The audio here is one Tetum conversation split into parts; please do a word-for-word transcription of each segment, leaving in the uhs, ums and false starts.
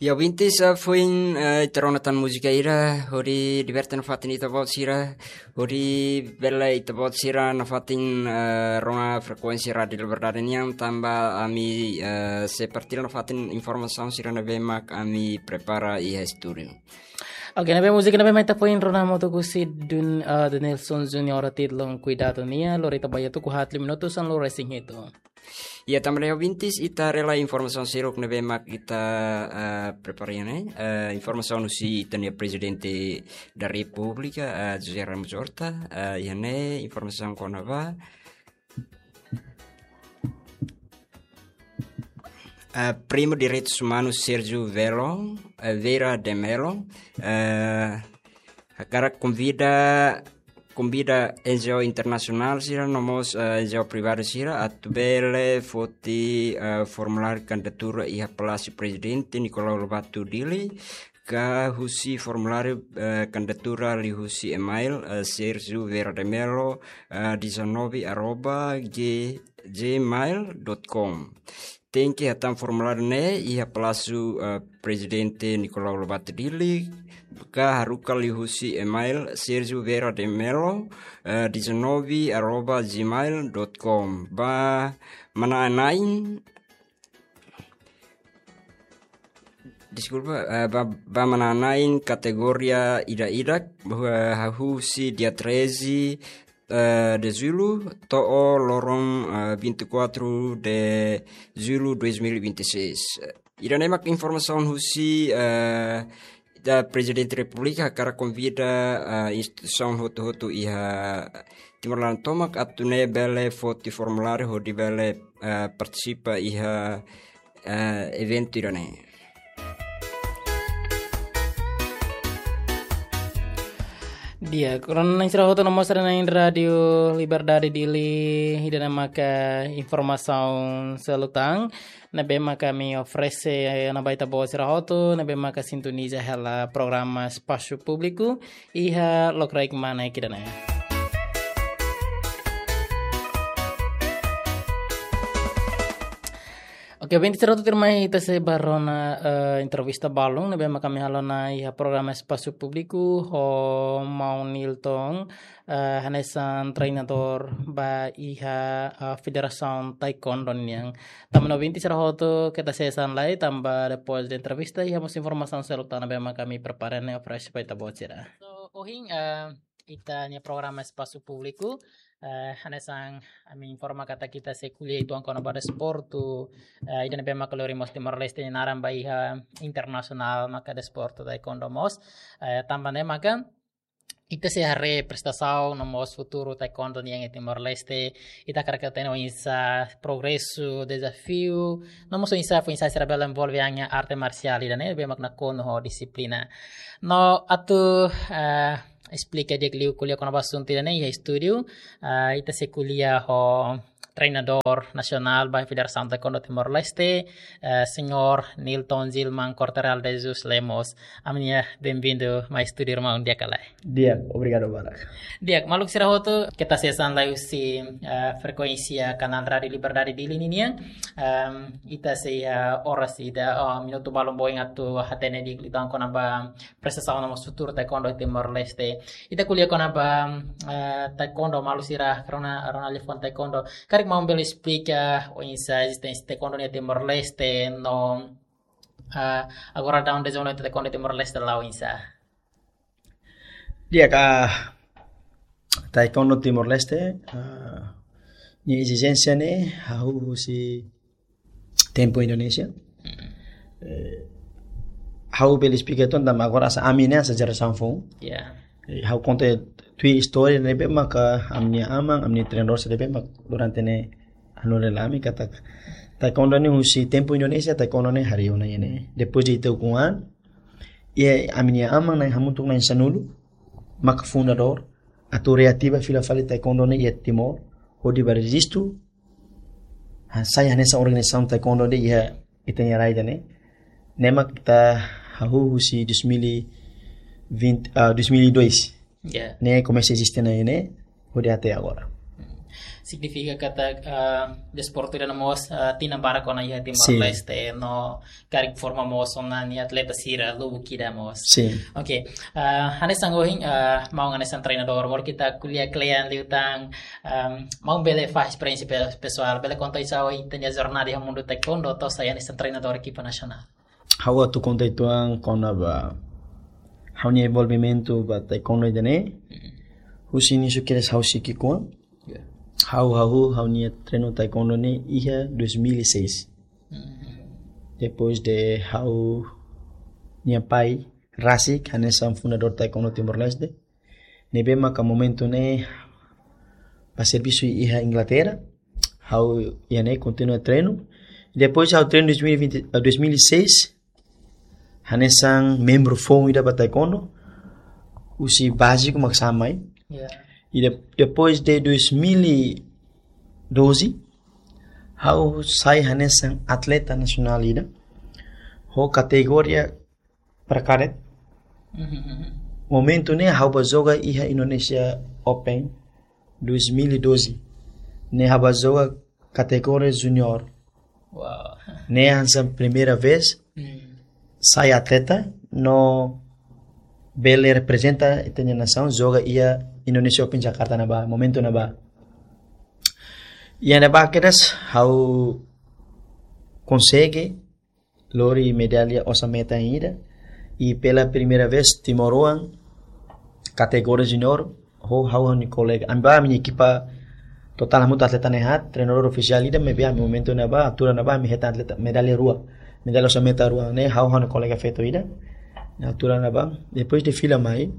Ya, ouvintes, ah, foin, eh, ita rona tan múzika ida, hodi liberte nafatin ita-boot sira, hodi bele ita-boot sira nafatin, eh, rona frekuénsia Rádiu Liberdade nian, tanba ami, eh, sei partilla nafatin informasaun sira ne'ebé mak ami prepara iha estúdiu. Oke, ne'ebé múzika ne'ebé mak ita foin rona hamutuk husi Dun, eh, Denilson Junior títulu Kuidadu nian, lori ita ba iha tuku haat liu minutu sanulu resin hitu. Ya, tanba ne'e ouvintes, ita haree lai informasaun seluk ne'ebé mak ita, eh, prepara iha ne'e. Eh, informasaun husi ita-nia Prezidente da Repúblika, eh, José Ramos Horta, eh, iha ne'e informasaun kona-ba, eh, Primu Direitus Umanus Sérgio Velo, eh, Vieira de Mello, eh, hakarak konvida, konvida N G O internasionál sira no mós, eh, N G O privadu sira atu bele foti, eh, formuláriu kandidatura iha Palásiu Prezidente Nicolau Lobato Dili, ka husi formuláriu, eh, kandidatura liuhusi email, eh, Sérgio Vieira de Mello, eh, dezanove arroba g-, gmail dot com. Tenke hatán formuláriu ne'e iha Palásiu, eh, Prezidente Nicolau Lobato Dili, ka haruka liuhusi email Sérgio Vieira de Mello, eh, dezanove arroba gmail dot com. Ba manán-na'in, deskulpa, eh, ba, ba manán-na'in kategoria ida-idak, eh, hahú husi dia treze, eh, de julho, to'o loron, eh, vinte e quatro de julho dois mil e vinte e seis. Ida-ne'e mak informasaun husi, eh, da Prezidente Repúblika, hakarak konvida, eh, instituisaun hotu-hotu iha Timor laran tomak atu nune'e bele foti formuláriu hodi bele, eh, partisipa iha, eh, eventu ida-ne'e. Di'ak, rona-na'in sira hotu no mós rona-na'in Rádiu Liberdade Dili, ida-ne'e maka informasaun seluk tan ne'ebé maka ami oferese ona ba ita-boot sira hotu ne'ebé maka sintoniza hela programa Espasu Públiku iha lokraik mane ida-ne'e. Oke, ouvintes sira hotu, tuirmai ita sei ba rona, eh, entrevista balun ne'ebé maka ami halo ona iha programa Espasu Públiku ho Maun Nilton, eh, hanesan treinadór ba iha, eh, Federasaun Taekwondo nian. Tanba ne'e ouvintes sira hotu, keta hanesan lai, tanba depois de entrevista iha mós informasaun seluk tan ne'ebé maka ami prepara ne'e oferese ba ita-boot sira. So, ohin, eh, ita-nia programa Espasu Públiku, eh, hanesan ami informa katak ita sei ko'alia uitoan kona-ba desportu, eh, ida ne'ebé maka lori mós Timor-Leste nia naran ba iha internasionál maka desportu taekwondo mós. Eh, tanba ne'e maka ita sei haree prestasaun no mós futuru taekwondo nian iha Timor-Leste, ita hakarak hatene oinsá progresu, dezafiu, no mós oinsá foin-sa'e sira bele envolve an iha arte marsiál ida-ne'e, ne'ebé mak nakonu ho dixiplina. No atu, eh, esplika di'ak liu ko'alia kona-ba asuntu ida-ne'e iha estúdiu, eh, ita sei ko'alia ho treinadór nasionál ba Federasaun Taekwondo Timor-Leste, eh, Señór Nilton Gilman Corteral de Jesus Lemos. Ami-nia benvindu mai estúdiu, irmaun, di'ak ka lae? Di'ak, obrigadu barak. Di'ak, maluk sira hotu, keta hanesan lai husi, eh, frekuénsia kanál Rádiu Liberdade Dili ninian. Em, ita sei, eh, oras ida, oh, minutu balun ba oin atu hatene di'ak liután kona-ba prestasaun no mós futuru taekwondo iha Timor-Leste. Ita ko'alia kona-ba, eh, taekwondo, maluk sira rona, rona liafuan taekwondo. Karik maun bele esplika oinsá ezisténsia taekwondo iha Timor-Leste no, eh, agora daudaun dezenvolvimentu taekwondo iha Timor-Leste la'o oinsá? Di'ak, taekwondo Timor-Leste, eh, nia ezisténsia ne'e hahú husi tempu Indonézia. Mm. Eh, ha'u bele esplika uitoan tanba agora hanesan ami ne'e hanesan jerasaun foun. Ya. Eh, ha'u konta tuir istória ne'ebé maka ami-nia aman, ami-nia treinadór sira ne'ebé mak durante ne'e hanorin hela ami katak taekwondo ne'e husi tempu Indonézia, taekwondo ne'e harii ona iha ne'e. Depois de ita ukun an, iha ami-nia aman na'in hamutuk na'in sanulu maka fundadór atu reativa fila fali taekwondo ne'e iha Timor, hodi ba rejistu, han sai hanesan organizasaun taekwondo ne'e iha ita-nia rai ida-ne'e. Ne'e mak ita hahú husi dois mil e vinte, ah, dois mil e dois. Ya. Ne'e komesa eziste ona iha ne'e, hodi até agora. Signifika katak, ah, desportu ida-ne'e mós, ah, tinan barak ona iha Timor-Leste, no karik forma mós ona nia atleta sira lubuk ida mós. Sin. Oke, ah, hanesan ohin, ah, maun hanesan treinadór, baru ita ko'alia kle'an liután, ah, maun bele fahe esperiénsia pe-, pesoál, bele konta oinsá ohin ita-nia jornada iha mundu taekwondo, to'o sai hanesan treinadór ekipa nasionál. Ha'u atu konta uitoan kona-ba ha'u-nia envolvimentu ba taekwondo ida-ne'e. Husi inísiu kedas ha'u sei ki'ikoan. Ya. Ha'u hahú ha'u-nia treinu taekwondo ne'e iha dois mil e seis. Depois de ha'u-nia pai rasik hanesan fundadór taekwondo Timor-Leste. Ne'ebé maka momentu ne'e bá servisu iha Inglaterra. Ha'u iha ne'e kontinua treinu. Depois ha'u treinu dois mil e vinte, eh, dois mil e seis. Hanesan membru foun ida ba taekwondo. Husi báziku mak sai mai. Ya. E de-, depois de dois mil e doze, ha'u sai hanesan atleta nasionál ida. Ho kategoria para kadet. Momentu ne'e ha'u bá joga iha Indonesia Open dois mil e doze. Ne'e ha'u bá joga kategoria junior. Wow. Ne'e hanesan primeira vez sai atleta no bele reprezenta ita-nia nasaun joga iha Indonesia Open Jakarta ne'ebá, momentu ne'ebá. Iha ne'ebá kedas ha'u konsege lori medalla osan-metan ida. E pela primeira vez timoroan kategoria junior, ho ha'u ho ha'u-nia kolega. Ami bá, ami-nia ekipa totál hamutuk atleta na'in haat, treinadór ofisiál ida, maibé ami momentu ne'ebá, altura ne'ebá, ami hetan atleta medalla rua. Medalla osan-metan rua ne'e, ha'u ho ha'u-nia kolega feto ida. Altura ne'ebá, depois de fila mai,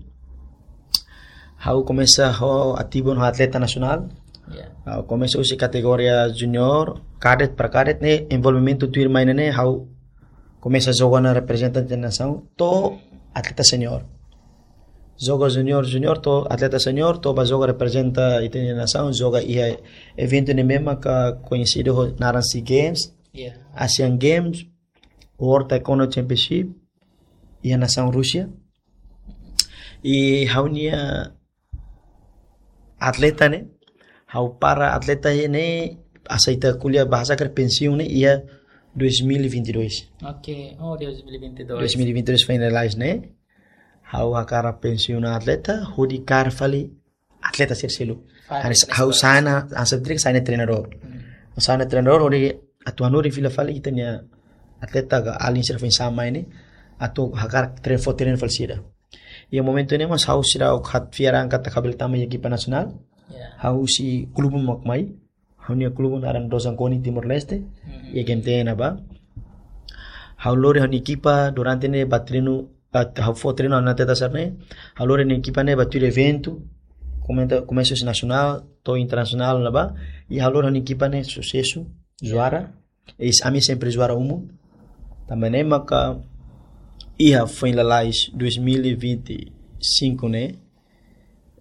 ha'u komesa ho ativu ho atleta nasionál. Ya. Ha'u komesa husi kategoria junior, kadet para kadet ne'e, envolvimentu tuirmai ne'e, ha'u komesa joga ona reprezenta nasaun, to'o atleta senior. Joga junior, junior, to'o atleta senior, to'o bá joga reprezenta ita-nia nasaun, joga iha eventu ne'ebé maka koñesidu ho naran SEA Games, Ya. Asian Games, World Taekwondo Championship, iha nasaun Rúsia. E ha'u-nia atleta ne'e, ha'u para atleta ne'e, aseita ko'alia bahasa karik pensiun ne'e, iha dois mil e vinte e dois. Oke, oh, dois mil e vinte e dois. Dois mil e vinte e dois finalize ne'e. Ha'u hakarak pensiun atleta, hodi kaer fali atleta sira seluk. Fali. Hanesan atleta. Ha'u sai hanesan, hanesan treinadór. Hmm. Sai hanesan treinadór, hodi atu hanorin fila fali ita-nia atleta ka alin sira foin sai mai ne'e, atu hakarak treinu, fó treinu fali sira. Iha momentu ne'e mós ha'u seidauk fiar an katak ha'u bele tama iha ekipa nasionál. Ya. Ha'u husi klube mak mai. Ha'u-nia klube naran Dozan Koni Timor-Leste. Mhm. Iha G M T N ne'ebá. Ha'u lori ha'u-nia ekipa durante ne'e bá treinu, ah, ha'u fó treinu ha'u-nia atleta sira ne'e. Ha'u lori ha'u-nia ekipa ne'e bá tuir eventu. Komenta, komesa husi nasionál, to'o internasionál ne'ebá. E ha'u lori ha'u-nia ekipa ne'e susesu, juara. E ami sempre juara umum. Tanba ne'e maka iha foin lalais dois mil e vinte e cinco ne'e,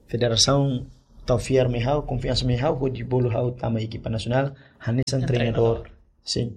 federasaun tau fiar mai ha'u, konfiansa mai ha'u, hodi bolu ha'u tama ekipa nasionál, hanesan treinadór. Treinadór. Sin.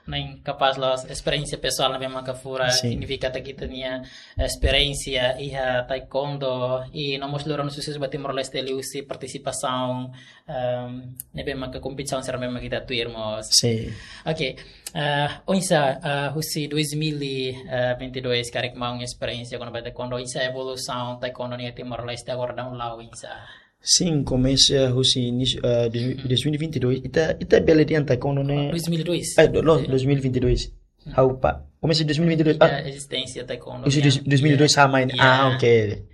Ne'e kapás loos esperiénsia pesoál ne'ebé maka furak, sin, signifika katak ita-nia esperiénsia iha taekwondo, i no mós lori ona susesu ba Timor-Leste liuhusi partisipasaun, ehm, ne'ebé maka kompetisaun sira ne'ebé maka ita tuir mós. Sin. Oke, eh, oinsá, eh, husi dois mil e vinte e dois karik maun esperiénsia kona-ba taekwondo, oinsá evolusaun taekwondo iha Timor-Leste agora daudaun oinsá? Sin, komesa husi inísiu, eh, dois mil, dois mil e vinte e dois, ita, ita bele dehan taekwondo ne'e. Dois mil e dois? Eh, do, lo, dois mil e vinte e dois. Ha'u pa, komesa dois mil e vinte e dois. Ah, ezisténsia taekwondo. Husi dois mil e dois sai mai ne'e. Ya. Ah, oke.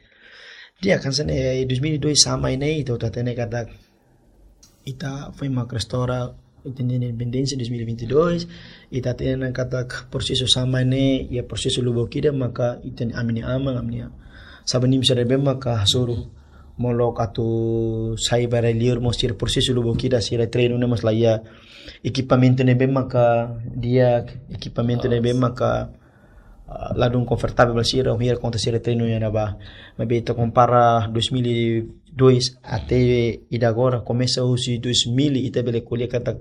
Di'ak, hanesan ne'e, dois mil e dois sai mai ne'e, ita hatene katak ita foin mak restaura ita-nia independénsia dois mil e vinte e dois, ita hatene katak prosesu sai mai ne'e, iha prosesu lubuk ida maka ita-nia, ami-nia aman, ami-nia sabanim sira ne'ebé maka hasoru molok atu sai ba rai-liur mós sira prosesu lubuk ida, sira treinu ne'e mós la iha ekipamentu ne'ebé maka di'ak, ekipamentu ne'ebé maka, ah, ladún konfortavel ba sira, hodi konta sira treinu iha ne'ebá. Maibé ita kompara dois mil e dois até ida agora, komesa husi dois mil, ita bele ko'alia katak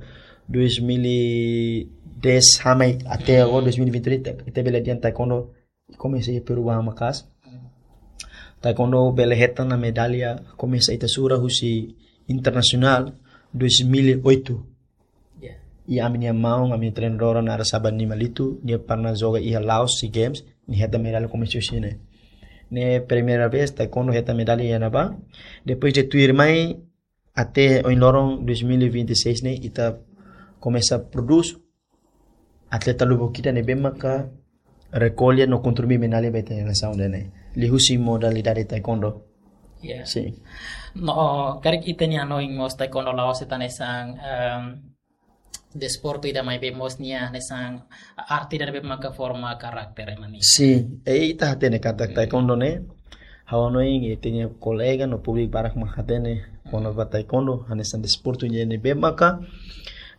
dois mil e dez sai mai até agora dois mil e vinte e três, ita, ita bele dehan taekwondo komesa iha perubahan maka'as. Taekwondo bele hetan ona medalla, komesa ita sura husi internasionál, dois mil e oito. Ya. I ami-nia maun, ami-nia treinadór naran Saba Nimalitu, nia pernah joga iha Laos SEA Games, nia hetan medalla komesa husi ne'e. Ne'e primeira vez taekwondo hetan medalla iha ne'ebá. Depois de tuirmai até ohin loron dois mil e vinte e seis ne'e, ita komesa prodús atleta lubuk ida ne'ebé maka rekolla no kontribui medalla ba ita-nia nasaun ida-ne'e. Liuhusi modalidade taekwondo. Ya. Sin. No, karik ita-nia hanoin mós taekwondo la'ós de'it hanesan, em, desportu ida maibé mós nia hanesan arte ida ne'ebé maka forma karakter ema nian. Sin, e ita hatene katak taekwondo ne'e, ha'u hanoin ita-nia kolega no públiku barak mak hatene kona-ba taekwondo hanesan desportu ida ne'ebé maka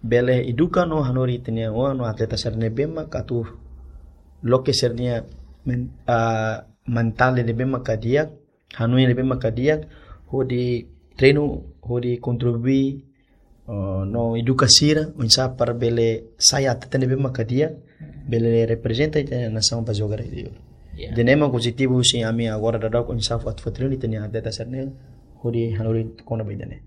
bele eduka no hanorin ita-nia oan no atleta sira ne'ebé maka atu loke sira-nia men-, ah, mentál ne'ebé maka di'ak, hanoin ne'ebé maka di'ak, hodi treinu, hodi kontribui, eh, no eduka sira, oinsá para bele sai atleta ne'ebé maka di'ak, bele reprezenta ita-nia nasaun ba jogu rai li'ur. Ya. Ida-ne'e mak objetivu husi ami agora daudauk oinsá atu fó treinu ita-nia atleta sira-ne'e, hodi hanorin kona-ba ida-ne'e.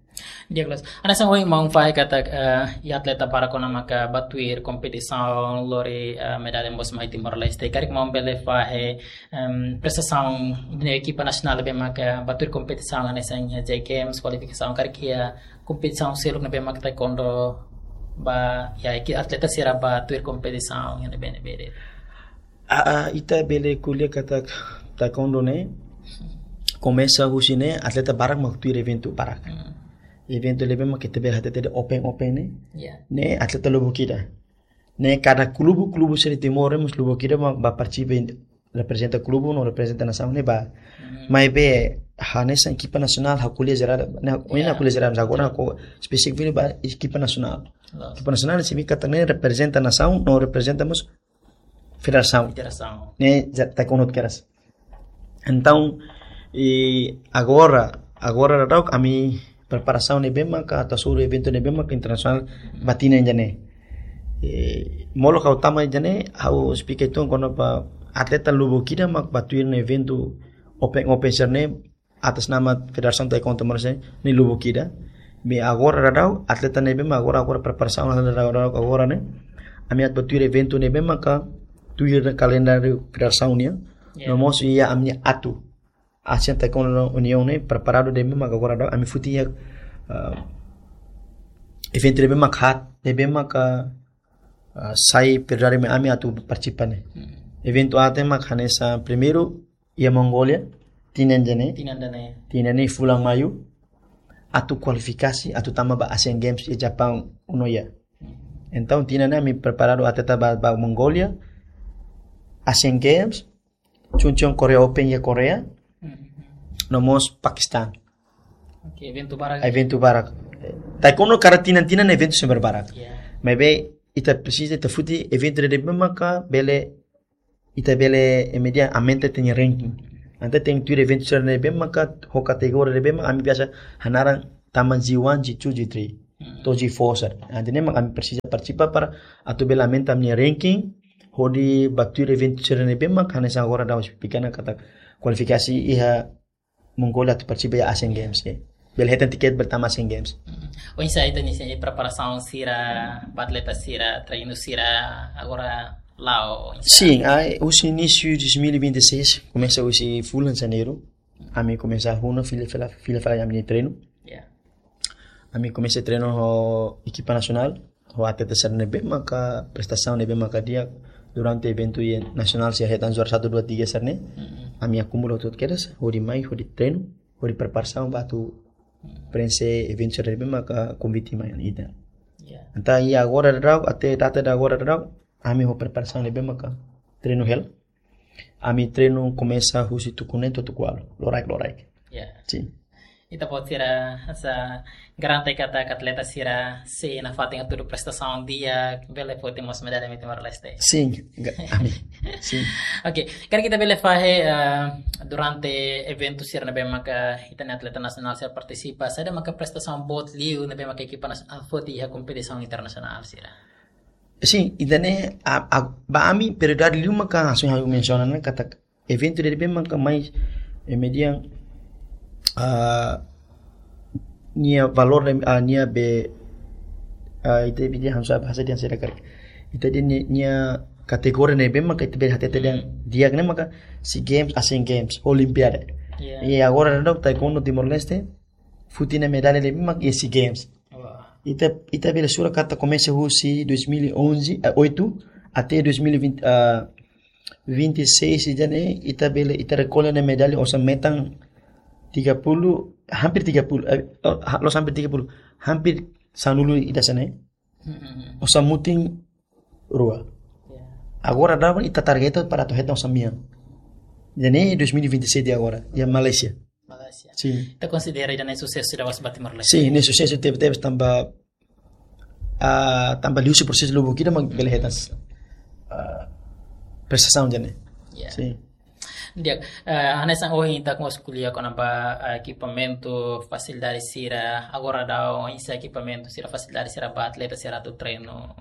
Di'ak loos. Hanesan ohin maun fahe katak, eh, iha atleta barak ona maka ba tuir kompetisaun lori, eh, medalla mós mai Timor-Leste. Karik maun bele fahe, em, prestasaun ne'e ekipa nasionál ne'ebé maka ba tuir kompetisaun hanesan iha SEA Games, kualifikasaun karik iha kompetisaun seluk ne'ebé maka taekwondo ba, ya, eki-, atleta sira ba tuir kompetisaun iha ne'ebé-ne'ebé de'it. Ah, ah, ita bele ko'alia katak taekwondo ne'e komesa husi ne'e atleta barak mak tuir eventu barak. Hmm. Eventu ne'ebé mak ita bele hatete de'it open, open ne'e. Ya. Ne'e atleta lubuk ida. Ne'e kada klube, klube sira Timor ne'e mós lubuk ida mak ba partisipa, reprezenta klube no reprezenta nasaun ne'e ba. Hmm. Maibé hanesan ekipa nasionál ha'u ko'alia jerál, ne'e, ya, ha'u ko'alia jerál, agora ha'u espesífiku ba ekipa nasionál. Loos. Ekipa nasionál signifika katak ne'e reprezenta nasaun, no reprezenta mós federasaun. Federasaun. Ne'e, ya, taekwondo kedas. Entaun, i agora, agora daudauk ami preparasaun ne'ebé maka atu hasoru eventu ne'ebé maka internasionál ba tinan ida-ne'e. I molok ha'u tama ida-ne'e, ha'u esplika uitoan kona-ba atleta lubuk ida mak ba tuir ne'e eventu open, open sira-ne'e, atas nama Federasaun Taekwondo Timor-Leste nia lubuk ida. Maibé agora daudauk, atleta ne'ebé mak agora, agora preparasaun daudauk agora ne'e. Ami atu ba tuir eventu ne'ebé maka tuir kalendáriu federasaun nian. Ya. No mós iha ami-nia atu. Asian Taekwondo Union ne'e preparadu ne'ebé maka agora daudauk ami foti iha, ah, eventu ne'ebé maka haat, ne'ebé maka, ah, sai prioridade mai ami atu partisipa ne'e. Hmm. Eventu aat ne'e mak hanesan primeiru iha Mongólia, tinan ida-ne'e. Tinan ida-ne'e. Tinan ne'e fulan Maiu, atu kualifikasi, atu tama ba Asian Games iha Japaun, Nagoya. Entaun, tinan ne'e ami preparadu atleta ba, ba Mongólia, Asian Games, Chungcheon Korea Open iha Korea, hmm, no mós Pakistan. Oke, eventu barak. Eventu barak. Taekwondo kada tinan-tinan eventu sempre barak. Ya. Maibé, ita presiza, ita foti eventu ne'ebé maka bele ita bele, eh, média aumenta ita-nia ranking. Entaun tenke tuir eventu sira ne'ebé maka ho kategoria ne'ebé maka ami biasa hanaran tama G one, G two, G three, hmm, to'o G four sira. Entaun ne'e maka ami presiza partisipa para atu bele aumenta ami-nia ranking, hodi ba tuir eventu sira ne'ebé maka hanesan agora daudaun esplika ona katak kualifikasi iha Mongólia atu partisipa iha Asian Games, ya. Bele hetan tiket bele tama Asian Games. Mm. Oinsá ita-nia preparasaun sira, ba atleta sira, treinu sira, agora la'o, oinsá? Sin, ah, husi inísiu dois mil e vinte e seis, komesa husi fulan Janeiru, ami komesa hahú ona fila, fila, fila, fila ami-nia treinu. Ya. Ami komesa treinu ho ekipa nasionál, ho atleta sira ne'ebé maka prestasaun ne'ebé maka di'ak durante eventu iha nasionál sira hetan juara satu, dua, tiga sira-ne'e. Mm-mm. Ami akumula hotu kedas, hodi mai, hodi treinu, hodi preparasaun ba atu, mm, prenxe eventu sira ne'ebé maka konvite mai ita. Ya. Entaun iha agora daudaun, até data de agora daudaun, ami ho preparasaun ne'ebé maka treinu hela. Ami treinu komesa husi tuku neen to'o tuku ualu, loraik, loraik. Ya. Sin. Ita-boot sira, hanesan garante katak atleta sira sei nafatin hatudu prestasaun di'ak, bele foti mós medalla mai Timor-Leste. Sin, ga-, ami. Sin. Oke, karik ita bele fahe, eh, durante eventu sira ne'ebé maka ita-nia atleta nasionál sira partisipa, saida maka prestasaun boot liu ne'ebé maka ekipa nas-, ah, foti iha kompetisaun internasionál sira? Sin, ida-ne'e, a, a, ba ami prioridade liu maka hanesan ha'u mensiona ne'e katak eventu ne'ebé maka mai, eh, média, ah, nia valór, ah, nia be Ah, ita bidi hansa bahasa dia sira karik. Ita dehan nia, nia kategoria ne'ebé maka ita bele hatete dehan di'ak ne'e maka SEA Games, Asian Games, Olimpiada. Ya. I agora daudaun taekwondo Timor-Leste, foti nia medalla ne'ebé maka iha SEA Games. Wah. Ita, ita bele sura katak komesa husi dois mil e onze, eh, oito, até dois mil e vinte, ah, vinte e seis ida-ne'e, ita bele, ita rekolla nia medalla osan metan tiga puluh, hampir tiga puluh, eh, oh, ha-, la'ós hampir tiga puluh, hampir sanulu ida hanesan ne'e. Mm-mm. Osan mutin rua. Ya. Agora daudaun ita targeta para atu hetan osan mean. Ida-ne'e dois mil e vinte e sete agora, iha Malaysia. Malaysia. Sin. Ita konsidera ida-ne'e susesu ida ba Timor-Leste. Sin, ne'e susesu tebetebes tanba, ah, tanba liuhusi prosesu lubuk ida mak bele hetan, ah, prestasaun ida-ne'e. Ya. Sin. Di'ak, eh, hanesan ohin ita mós ko'alia kona-ba, eh, ekipamentu, fasilidade sira, agora daudaun oinsá ekipamentu sira, fasilidade sira ba atleta sira atu treinu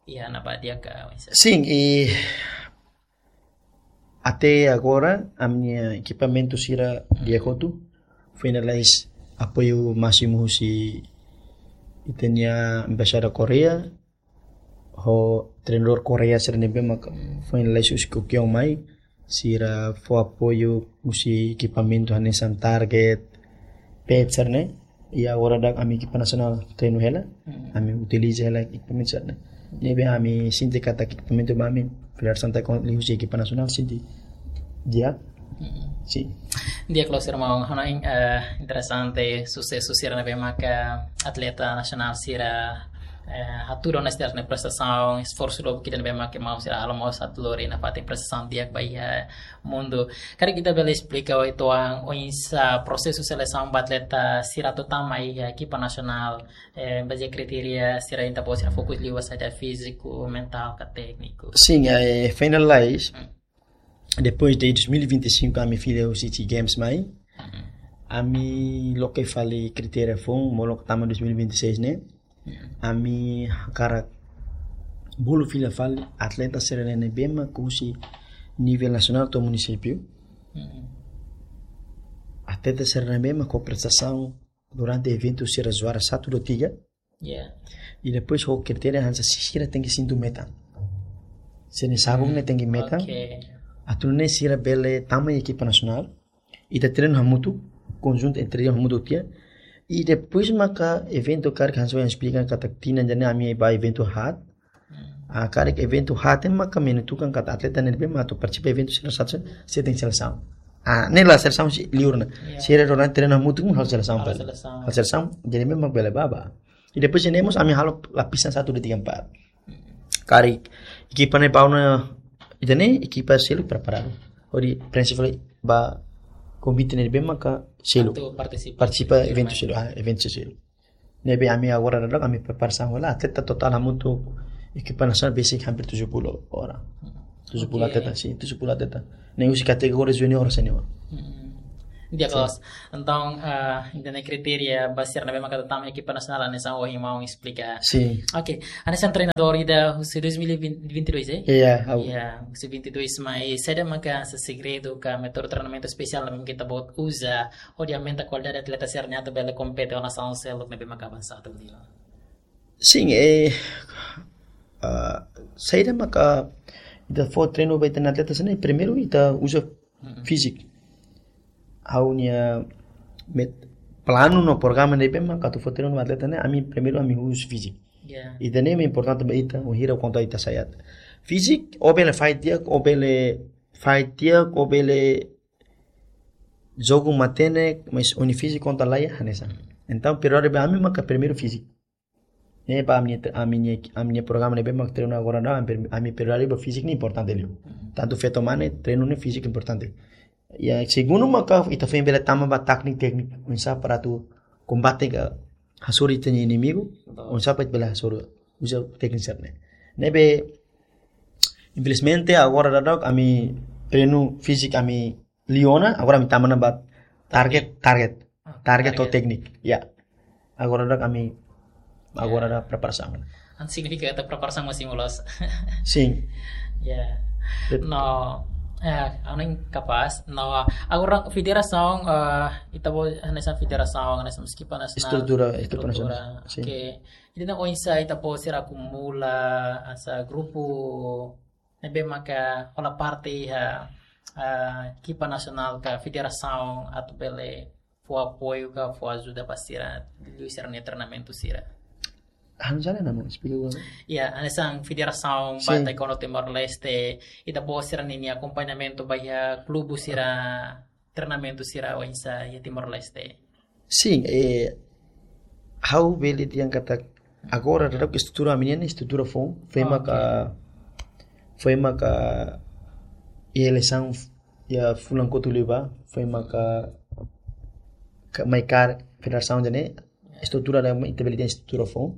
iha ne'ebá di'ak ka oinsá? Sin, i até agora ami-nia ekipamentu sira di'ak hotu, foin lalais apoiu másimu husi ita-nia embaixada Koreia, ho treinadór Koreia sira ne'ebé maka foin lalais husi Kokio mai, sira fó apoiu husi ekipamentu hanesan target, pad sira-ne'e. I agora daudaun ami ekipa nasionál treinu hela, ami utiliza hela ekipamentu sira-ne'e. Ne'ebé ami sente katak ekipamentu ba ami, Federasaun Taekwondo liuhusi ekipa nasionál sente di'ak. Sin. Di'ak loos irmaun, hanoin, eh, interesante, susesu sira ne'ebé maka atleta nasionál sira, eh, hatudu ona sira-nia prestasaun, esforsu lubuk ida ne'ebé maka maun sira halo mós atu lori nafatin prestasaun di'ak ba iha mundu. Karik ita bele esplika uitoan oinsá prosesu selesaun ba atleta sira atu tama iha ekipa nasionál, eh, bazeia kritéria sira, entaun sira fokus liu ba saida, fíziku, mentál ka tékniku? Sin, eh, foin lalais, depois de dois mil e vinte e cinco ami fila husi SEA Games mai, ami loke fali kritéria foun, molok tama dois mil e vinte e seis ne'e, ami hakarak bolu fila fali atleta sira ne'ebé maka husi nivel nasionál to'o munisípiu. Atleta sira ne'ebé maka ho prestasaun durante eventu sira juara satu, dua, tiga. Ya. I depois ho kritéria hanesan sira tenke sintu metan. Sira-nia sabuk ne'e tenke metan. Oke. Atu nune'e sira bele tama iha ekipa nasionál. Ita treinu hamutuk, konjuntu entre hamutuk tiha. I depois maka eventu karik hanesan esplika katak tinan ida-ne'e ami ba eventu haat. Ah, karik eventu haat ne'e maka menentukan katak atleta ne'ebé mak atu partisipa eventu sira satu, sira tenke selesaun. Ah, ne'e la selesaun si liur ona. Ya. Sira rona treinu hamutuk halo selesaun Halo pali. selesaun. Halo selesaun, jadi memang bele ba ba. I depois ne'e mós ami halo lapisan satu, dua, tiga, empat. Karik ekipa ne'e ba ona, ida-ne'e ekipa seluk preparadu. Hodi prinsipál ba konvite ne'ebé maka seluk. Atu partisipa. Partisipa eventu seluk, ah, eventu seluk. Ne'ebé ami agora daudaun ami preparasaun hela, atleta totál hamutuk ekipa nasionál besik hampir tujuh puluh orang. Tujuh puluh Oke. Atleta, sin, tujuh puluh atleta. Ne'e husi kategoria junior senior. Hmm. Di'ak loos. Entaun, eh, ida-ne'e kritéria ba sira ne'ebé maka atu tama ekipa nasionál hanesan ohin maun esplika. Sin. Oke, hanesan treinadór ida husi dois mil e vinte, vinte e dois, eh? Iya, ha'u. Ya, husi vinte e dois, mas saida maka hanesan segredu ka métodu treinamentu espesiál ne'ebé ita-boot uza hodi aumenta kualidade atleta sira-ne'e atu bele kompete ho nasaun seluk ne'ebé maka avansadu liu? Sin, eh, ah, saida maka ita fó treinu ba ita-nia atleta sira-ne'e, primeiru ita uza fíziku. Ha'u-nia met-, planu no programa ne'ebé maka atu fó treinu ba atleta ne'e, ami primeiru ami uza fíziku. Ya. Ida-ne'e mak importante ba ita, wainhira konta ita sa'e. Fíziku, ó bele fight di'ak, ó bele fight di'ak, ó bele jogu matenek, mas ó-nia fíziku konta laiha, hanesan. Entaun, prioridade ba ami maka primeiru fíziku. Ne'e ba ami-nia, ami-nia, ami-nia programa ne'ebé mak treinu agora daudaun, ami, ami prioridade ba fíziku ne'e importante liu. Tantu feto mane, treinu ne'e fíziku importante. Ya, segundu maka ita foin bele tama ba tékniku, tékniku oinsá para atu kombate ka hasoru ita-nia inimigu, oinsá para ita bele hasoru, uza tékniku sira-ne'e. Ne'ebé, infelizmente, agora daudaun ami treinu fíziku ami liu ona, agora ami tama ona ba target, target, target ho tékniku. Ya. Agora daudaun ami, agora daudaun preparasaun. Entaun signifika katak preparasaun mós simu loos. Sin. Ya. Bet- No, Eh, anu kapás. No, agora federasaun, eh, ita-boot hanesan federasaun, hanesan ekipa nasionál. Estrutura, ekipa nasionál. Estrutura. Sin. Oke. Ida-ne'e oinsá ita-boot sira akumula hanesan grupu ne'ebé maka hola parte iha, eh, ekipa nasionál ka federasaun atu bele fó apoiu ka fó ajuda ba sira, liuliu sira-nia treinamentu sira. Hanesan ne'e, Maun, esplika uitoan. Ya, hanesan federasaun ba, sin, taekwondo Timor-Leste, ita-boot sira-ninia akompañamentu ba iha klube sira, treinamentu sira oinsá iha Timor-Leste. Sin, eh, ha'u bele dehan katak agora daudaun estrutura ami-nian estrutura foun, foin, oke, maka, foin maka iha eleisaun iha fulan kotuk liubá, foin maka, ka-, mai kaer federasaun ida-ne'e, estrutura daudaun ita bele dehan estrutura foun.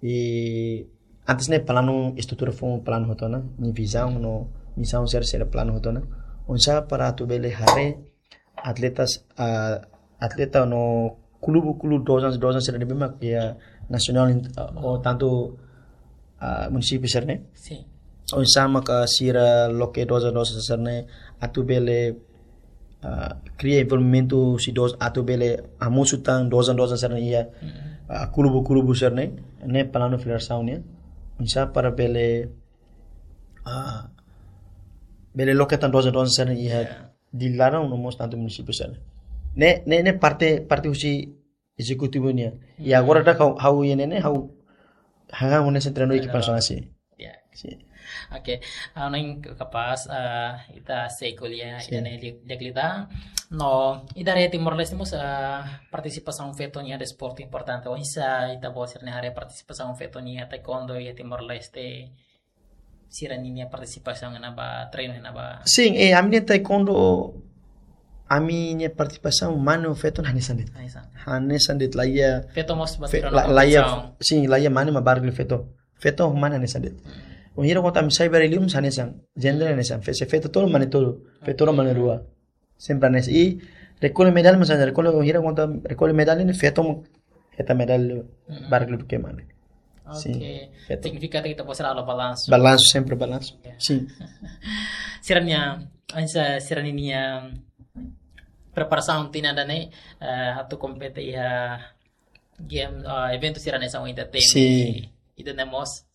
I antes ne'e planu estrutura foun planu hotu ona, nia vizaun no misaun sira sira planu hotu ona. Oinsá para atu bele haree atletas, ah, atleta no klube, klube dozan, dozan sira ne'ebé mak iha nasionál, ah, ou tantu, ah, munisípiu sira-ne'e. Sin. Oinsá maka sira loke dozan, dozan sira-ne'e atu bele, ah, kria envolvimentu husi dozan atu bele hamosu tan dozan, dozan sira-ne'e iha, mm, ah, klube, klube sira-ne'e, ne'e planu federasaun nian. Oinsá para bele, ah, bele loke tan dozan, dozan sira-ne'e iha, ya, di laran no mós tantu munisípiu sira-ne'e. Ne'e, ne'e, ne'e parte, parte husi ezekutivu nian. I, hmm, agora daudaun ha'u, ha'u iha ne'e ne'e, ha'u hahán hanesan treinadór ekipa, treinadór, nasionál, sin. Ya. Sin. Oke, ah, ne'e kapás, ah, ita sei ko'alia, sin, ida-ne'e di'ak, di'ak liután. No, ita haree Timor-Leste mós, ah, partisipasaun feto nian desportu importante. Oinsá ita-boot sira-nia haree partisipasaun feto nian taekwondo iha Timor-Leste, sira-ninia partisipasaun iha ne'ebá, treinu iha ne'ebá? Sin, eh, ami-nia taekwondo, ami-nia partisipasaun mane ho feto hanesan de'it. Hanesan. Hanesan de'it, laiha. Feto mós fe-, batira la-, no laiha, kompetisaun. Sin, laiha mane mak barak liu feto. Feto ho mane hanesan de'it. Hmm. Wainhira kuandu ami sai barak liu mós hanesan. Jendre hanesan. Fe-, se feto tolu, mane tolu. Feto rua, mane rua. Sempre hanesan. I rekolle medalla mós hanesan. Rekolle, wainhira kuandu rekolle medalla ne'e feto mak hetan medalla, mm-mm, barak liu duké mane. Sin. Oke. Feto. Signifika katak ita-boot sira halo balansu. Balansu, sempre balansu. Ya. Sin. Sira-nia, hanesan sira-ninia preparasaun tinan ida-ne'e, eh, atu kompete iha game, eh, eventu sira hanesan ohin ita temi. Sin. Ida-ne'e mós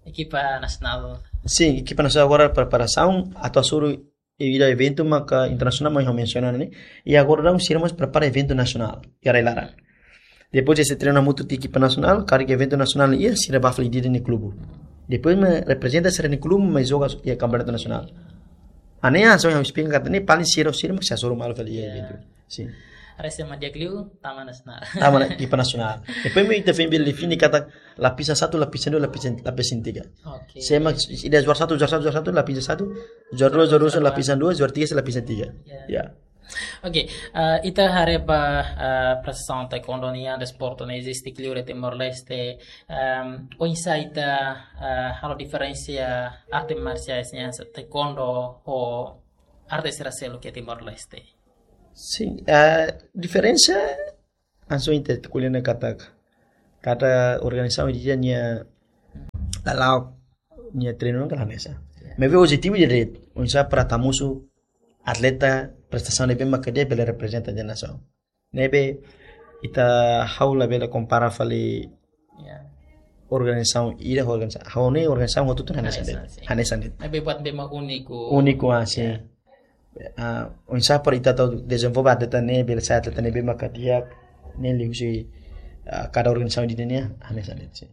ekipa nasionál. Sin, ekipa nasionál agora preparasaun atu hasoru ida eventu maka internasionál, maibé ha'u mensiona ne'e. I agora daudaun sira mós prepara eventu nasionál iha rai-laran. Depois de sira treina hamutuk ho ekipa nasionál, karik eventu nasionál iha, sira bá fali ida-idak nia klube. Depois mak reprezenta sira-nia klube mai joga iha kampeonatu nasionál. Hanesan ohin ha'u esplika katak ne'e paling sira, sira mak sei hasoru malu fali iha, ya, eventu. Sin. Haree se mak di'ak liu, tama nasionál. Tama ona ekipa nasionál. Depois mak ita foin bele define katak lapisan satu, lapisan dua, lapisan, lapisan tiga. Oke. Se mak ida juara satu, juara satu, juara satu, lapisan satu, juara dua, juara dua, juara dua, lapisan dua, juara tiga, lapisan tiga. Ya. Ya. Oke, eh, ita haree ba, eh, prestasaun taekwondo nian, desportu ne'e eziste liu iha Timor-Leste, em, oinsá ita, eh, halo diferensia arte marsiais nian hanesan taekwondo ho arte sira seluk iha Timor-Leste? Sin, eh, diferensia, hanesan ohin ita ko'alia ona katak, kada organizasaun iha nia lala'ok nia treinu ne'e hanesan. Ya. Maibé objetivu ida de'it, oinsá para atu hamosu atleta prestasaun ne'ebé maka di'ak bele reprezenta ita-nia nasaun. Ne'ebé ita, ha'u labele kompara fali, ya, organizasaun ida ho organizasaun. Ha'u-nia organizasaun hotu-hotu hanesan de'it. Hanesan, sin. Hanesan de'it. Maibé buat ne'ebé mak úniku. Úniku, ah, sin. Ya. Ah, oinsá para ita atu dezenvolve atleta ne'e, bele sai atleta ne'ebé maka di'ak, ne'e liuhusi, ah, kada organizasaun ida-ne'e nian, hanesan de'it, sin.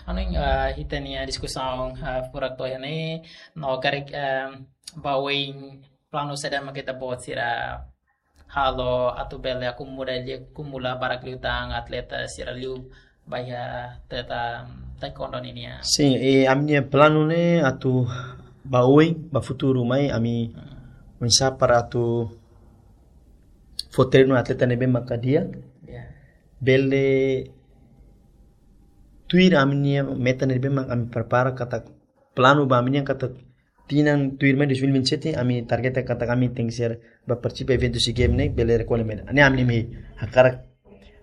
Anu, ah, ita-nia diskusaun, ah, furak to'o iha ne'e, no karik, ah, ba oin planu saida mak ita-boot sira halo atu bele akumula liu, akumula barak liután atleta sira liu ba iha atleta taekwondo nian. Sin, i ami-nia planu ne'e atu ba oin, ba futuru mai, ami, hmm, oinsá para atu fó treinu atleta ne'ebé maka di'ak. Ya. Bele tuir ami-nia meta ne'ebé mak ami prepara katak planu ba ami-nian katak tinan tuirmai dois mil e vinte e sete, ami target katak ami tenke ser ba partisipa eventu SEA Games ne'e, bele rekolle medalla. Ne'e ami-nia mehi, hakarak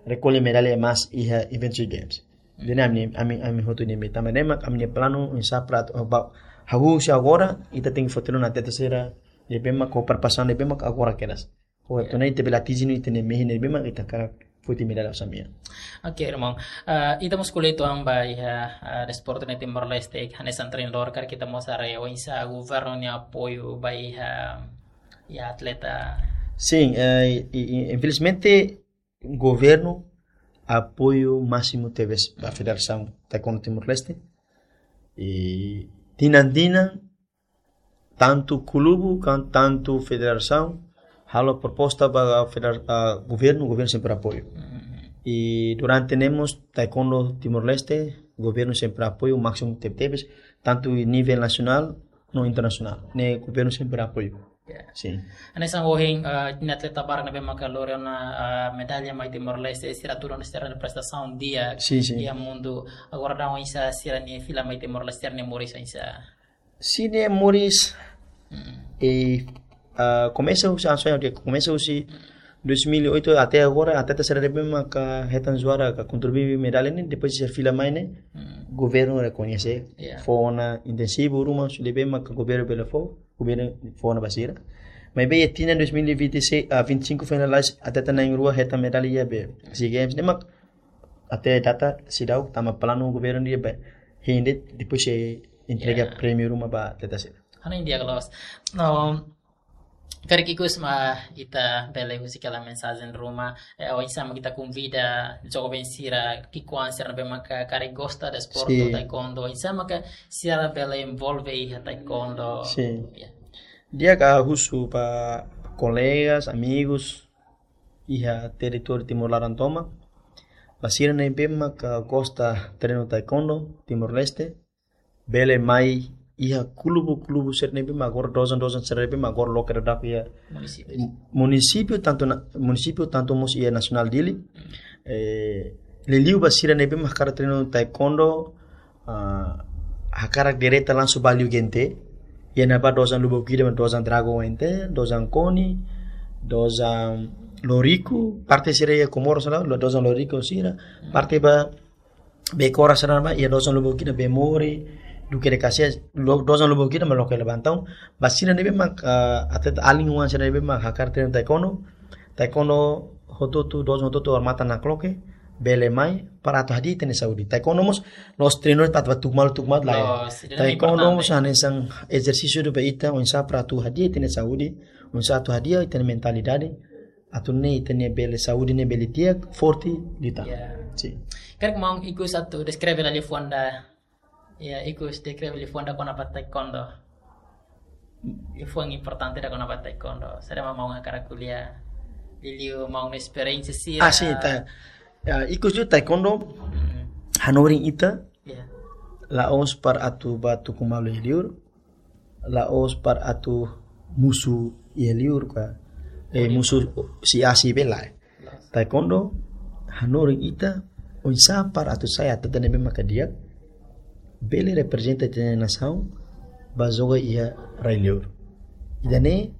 rekolle medalla emaun iha eventu SEA Games. Ida-ne'e ami, ami, ami hotu nia mehi. Tanba ne'e mak ami-nia planu oinsá para atu, oh, ba, Hahú husi agora, ita tenke foti ona atleta sira ne'ebé mak ho preparasaun ne'ebé mak agora kedas. Ho atu nune'e ita bele atinji ita-nia mehi ne'ebé mak ita hakarak foti medalla osan mean. Oke, irmaun. Eh, ita mós ko'alia uitoan ba iha, eh, desportu iha Timor-Leste, hanesan treinadór karik ita mós haree oinsá governu nia apoiu ba iha, iha atleta. Sin, eh, i, i, infelizmente, governu apoiu másimu tebes ba Federasaun Taekwondo Timor-Leste. I tinan-tinan, tantu klubu, kan, tantu federasaun, halo proposta ba federa-, ah, governu, governu sempre apoiu. I durante ne'e mós Taekwondo Timor-Leste, governu sempre apoiu másimu tebetebes, tantu nivel nasionál no internasionál. Ne'e governu sempre apoiu. Ya. Sin. Hanesan ohin, eh, ita-nia atleta barak ne'ebé maka lori ona, eh, medalla mai Timor-Leste, sira tuur ona sira-nia prestasaun di'ak, sin, sin, iha mundu. Agora daudaun oinsá sira-nia fila mai Timor-Leste, sira-nia moris oinsá? Sira-nia moris, mm, eh, ah, komesa husi, ah, sorry, komesa husi dois mil e oito até agora, atleta sira ne'ebé maka hetan juara ka kontribui medalla ne'e, depois sira fila mai ne'e, mm, governu rekoñese, ya, fó ona insentiva ruma, se ne'ebé maka governu bele fó, governu fó ona ba sira. Maibé iha tinan dois mil e vinte e seis, ah, vinte e cinco foin lalais, atleta na'in-rua hetan medalla iha be SEA Games, ne'e mak até data seidauk tama planu governu nia be, hein de'it, depois sei entrega, ya, prémiu ruma ba atleta sira. Hanoin di'ak loos. No, karik ikus mak ita bele husik hela mensajen ruma, eh, oinsá mak ita konvida joven sira, ki'ikoan sira ne'ebé maka karik gosta desportu, sin, taekwondo, oinsá maka sira bele envolve iha taekwondo. Sin. Ya. Di'ak, ha'u husu ba kolegas, amigus iha territóriu Timor laran tomak, ba sira ne'ebé maka gosta treinu taekwondo Timor-Leste, bele mai iha klubu-klubu sira ne'ebé mak agora, dojang-dojang sira ne'ebé mak agora loke daudauk iha munisípiu. Munisípiu tantu na, munisípiu tantu mós iha nasionál Dili. Hmm. Eh, liuliu ba sira ne'ebé mak hakarak treinu taekwondo, ah, hakarak direta langsung ba liu G N T. Iha ne'ebá dojang lubuk ida, dojang Dragon N T, dojang Koni, dojang Loriku, parte sira iha Comoro sala, lo-, dojang Loriku sira, hmm, parte ba Becora sira ne'ebá, iha dojang lubuk ida Bemori, duké de Caxias, lo-, dojang lubuk ida mak loke hela ba entaun. Ba sira ne'ebé mak, ah, atleta alin oan sira ne'ebé mak hakarak treinu taekwondo, taekwondo hotu-hotu, dojang hotu-hotu odamatan nakloke, bele mai, para atu hadi'a ita-nia saúde. Taekwondo mós, la'ós treinu para atu ba tuku malu, tuku malu, lae. La'ós, ida-ne'e taekwondo importante. Mós hanesan ezersísiu ida ba ita, oinsá para atu hadi'a ita-nia saúde, oinsá atu hadi'a ita-nia mentalidade, atu nune'e ita-nia bele saúde ne'e bele di'ak, forte, liután. Ya. Sin. Karik maun ikus atu deskreve liafuan ida, ya, ikus deskreve liafuan ida kona-ba taekwondo. Liafuan importante ida kona-ba taekwondo. Saida mak maun hakarak ko'alia, liuliu maun nia esperiénsia sira. Ah, sin, ta-, ya, ikus liu taekwondo, hmm, hanorin ita, ya, la'ós para atu ba tuku malu iha liur, la'ós para atu musu iha liur ka, eh, musu si A si B, lae. Taekwondo hanorin ita oinsá para atu sai atleta ne'ebé maka di'ak, bele reprezenta ita-nia nasaun ba joga iha rai-liur. Ida-ne'e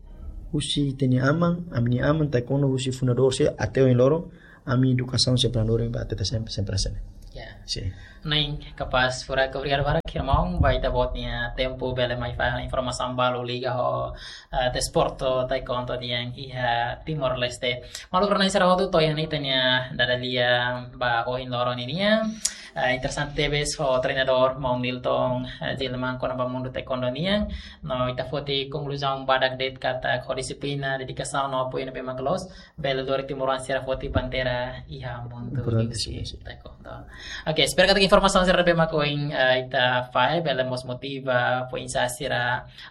husi ita-nia aman, ami-nia aman taekwondo husi fundadór sira até ohin loron, ami edukasaun sempre hanorin ba atleta sempre, sempre hanesan ne'e. Ya. Sin. Ne'e kapás, furak obrigadu barak, irmaun, ba ita-boot nia tempu bele mai fahe informasaun balu liga ho, eh, desportu taekwondo nian iha Timor-Leste. Maluk rona sira hotu, to'o iha ne'e ita-nia dada-lia ba ohin loron ninian. Eh, interesante tebes ho treinadór maun Nilton, eh, Gilman kona-ba mundu taekwondo nian. No ita foti konkluzaun badak de'it katak ho dixiplina, dedikasaun no apoiu ne'ebé mak loos, bele lori timoroan sira foti bandeira iha mundu. Importante, sin, sin. Taekwondo. Oke, espera katak informasaun sira ne'ebé mak ohin, eh, ita fahe bele mós motiva, fó insentiva sira,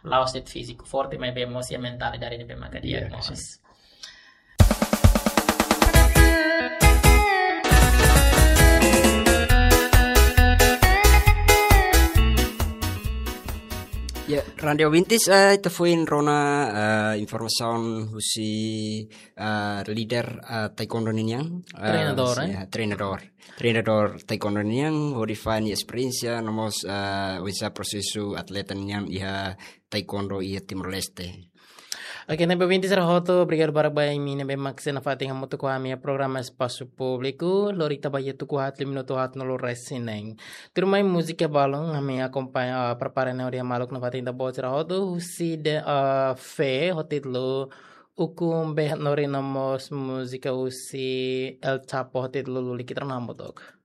la'ós de'it fíziku forte, maibé mós iha mentalidade ne'ebé maka di'ak, ya, mós. Sin. Ya, rante ouvintes, eh, ita foin rona, eh, informasaun husi, eh, líder, eh, taekwondo ninian, eh, treinadór, husi, eh? Ya, treinadór. Treinadór taekwondo nian, hodi fahe nia esperiénsia, no mós, eh, oinsá prosesu atleta nian iha taekwondo iha Timor-Leste. Oke, ne'ebé ouvinte sira hotu, obrigadu barak ba imi ne'ebé mak sei nafatin hamutuk ho ami iha programa Espasu Públiku. Lori ita ba iha tuku haat liu minutu haatnulu resin neen. Tuirmai múzika balun, ami akompaña, ah, prepara ne'e hodi maluk nafatin ita-boot sira hotu, husi de, ah, Fe, ho títulu Ukun Beh Nori no mós múzika husi El Chapo, ho títulu Lulik, ita rona hamutuk.